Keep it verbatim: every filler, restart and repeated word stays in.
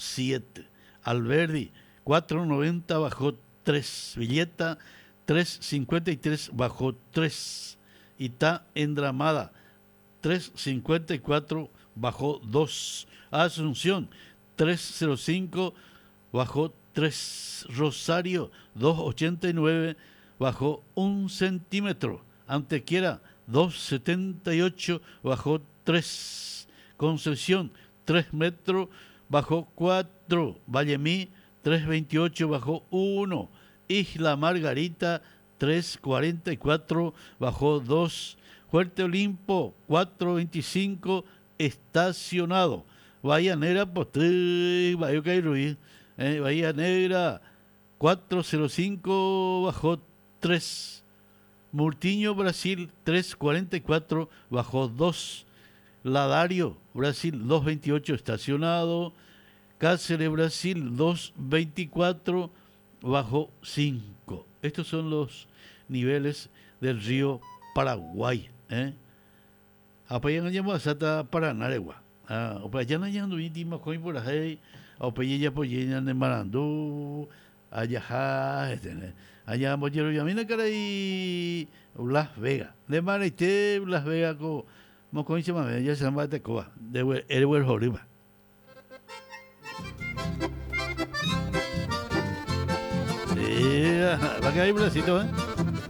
siete. Alberdi cuatro noventa bajó tres. Villeta tres cincuenta y tres bajó tres. Itá Endramada tres cincuenta y cuatro bajó dos. Asunción tres cero cinco bajó tres. Rosario dos ochenta y nueve bajó un centímetro. Antequera dos setenta y ocho bajó tres. Concepción tres metros bajó cuatro. Vallemí tres veintiocho bajó uno. Isla Margarita tres cuarenta y cuatro bajó dos. Fuerte Olimpo cuatro veinticinco estacionado. Bahía Negra, Postrí, Bahía Cairuí, eh, Bahía Negra cuatro cero cinco bajó tres. Murtinho, Brasil tres cuarenta y cuatro bajó dos. Ladario, Brasil dos veintiocho estacionado. Cáceres, Brasil dos veinticuatro bajó cinco. Estos son los niveles del río Paraguay, ¿eh? Apayan llamo a Sata Paranaregua. Ah, opayan llamo íntimo coin por ahí. Opayan ya poyen de Marandú, allá, este, allá mollero yamina cara y Las Vegas. De Marite, Las Vegas co mocoin se mame, ya se llama Tecoa, de Edward Joriba. Sí, va a caer Brasito, ¿eh?